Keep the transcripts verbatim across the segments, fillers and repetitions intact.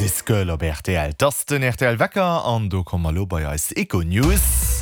This Girl op R T L. Dat ass den R T L Wecker an do komme mer lo bei eis Econews.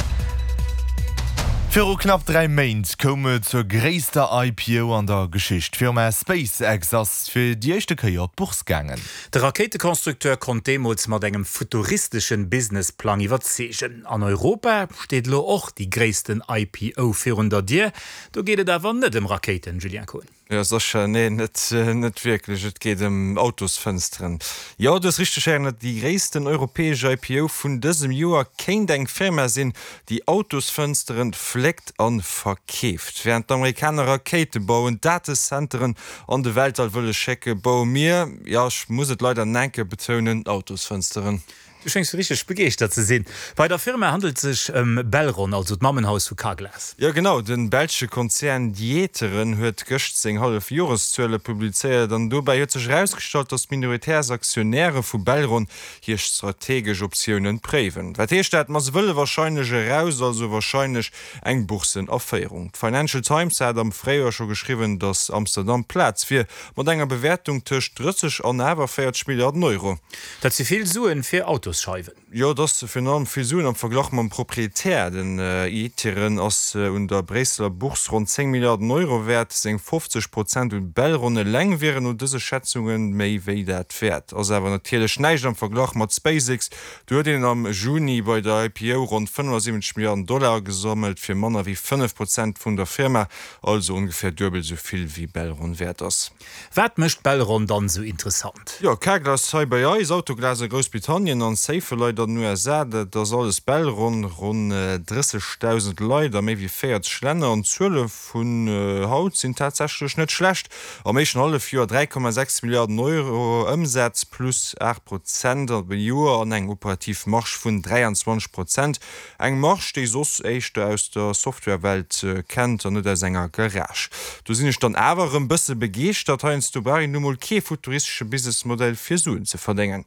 Viru knapp dräi Méint koum et zur gréisster I P O an der Geschicht. D'Firma SpaceX ass fir déi éischte Kéier op d'Bourse gaangen. De Rakéitekonstrukteur konnt deemools mat engem futuristesche Businessplang iwwerzeegen. An Europa steet lo och déi gréissten I P O virun der Dier. Do geet et awer net ëm Rakéiten, Julien Kohn. Jo, sécher, nee, net, net wierklech. Et geet ëm Autosfënsteren. Jo, du hues richteg héieren, déi gréissten europäesch I P O vun dësem Joer kéint eng Firma sinn, déi Autosfënsteren fléckt a verkeeft. Wärend d'Amerikaner Rakéite bauen, Datenzenteren an de Weltall wëlle schécken, baue mir, jo, ech muss et leider nach eng Kéier betounen, Autosfënsteren. Du schéngs richteg begeeschtert ze sinn. Bei der Firma handelt et sech ëm Belron, also d'Mammenhaus vu Carglass. Jo, genau, de belsche Konzern D'Ieteren huet gëscht seng Hallefjoreszuele publizéiert an dobäi huet sech erausgestallt, dass d'Minoritärsaktionäre vu Belron hir strategesch Optiounen préiwen. Wat heescht dat? Ma se wëlle warscheinlech eraus, also warscheinlech eng Boursenaféierung. D'Financial Times hat am Fréijoer scho geschriwwen, dass Amsterdam Plaz wier, mat enger Bewäertung tëscht drësseg an awer véierzeg Milliarden Euro. Dat si vill Suen fir Autosscheiwen. Jo, dat ass virun allem vill Suen am Verglach mam Proprietär. Den D'Ieteren ass un der Bréisseler Bourse ronn zéng Milliarden Euro wäert. Seng fofzeg Prozent un Belron eleng wieren no dëse Schätzunge méi wéi dat wäert. Ass awer natierlech näischt am Verglach mat SpaceX. Do huet een am Juni bei der I P O ronn fënnefasiwwenzeg Milliarden Dollar gesammelt fir manner wéi fënnef Prozent vun der Firma, also ongeféier duebel esou vill wéi Belron wäert ass. Wat mécht Belron dann esou interessant? Jo, Carglass hei bei eis, Autoglas a Groussbritannien an Safelite an den U S A, dat ass alles Belron. Ronn drëssegdausend Leit a méi wéi véierzeg Länner an d'Zuele vun haut sinn tatsächlech net schlecht. Am éischten Hallefjoer dräi Komma sechs Milliarden Euro Ëmsaz, plus aacht Prozent op e Joer an eng operativ Marge vun dräianzwanzeg Prozent. Eng Marge, déi soss éischter aus der Softwarewelt kennt an net aus enger Garage. Do sinn ech dann awer erëm bësse begeeschtert. Heiansdo brauch een nu mol kee futuristesche Businessmodell fir Suen ze verdéngen.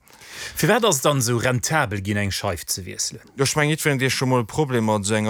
Firwat ass et dann esou rentabel ginn, eng Scheif ze wiesselen? Jo, ech mengen, jiddwereen, dee scho mol Problemer mat esou enger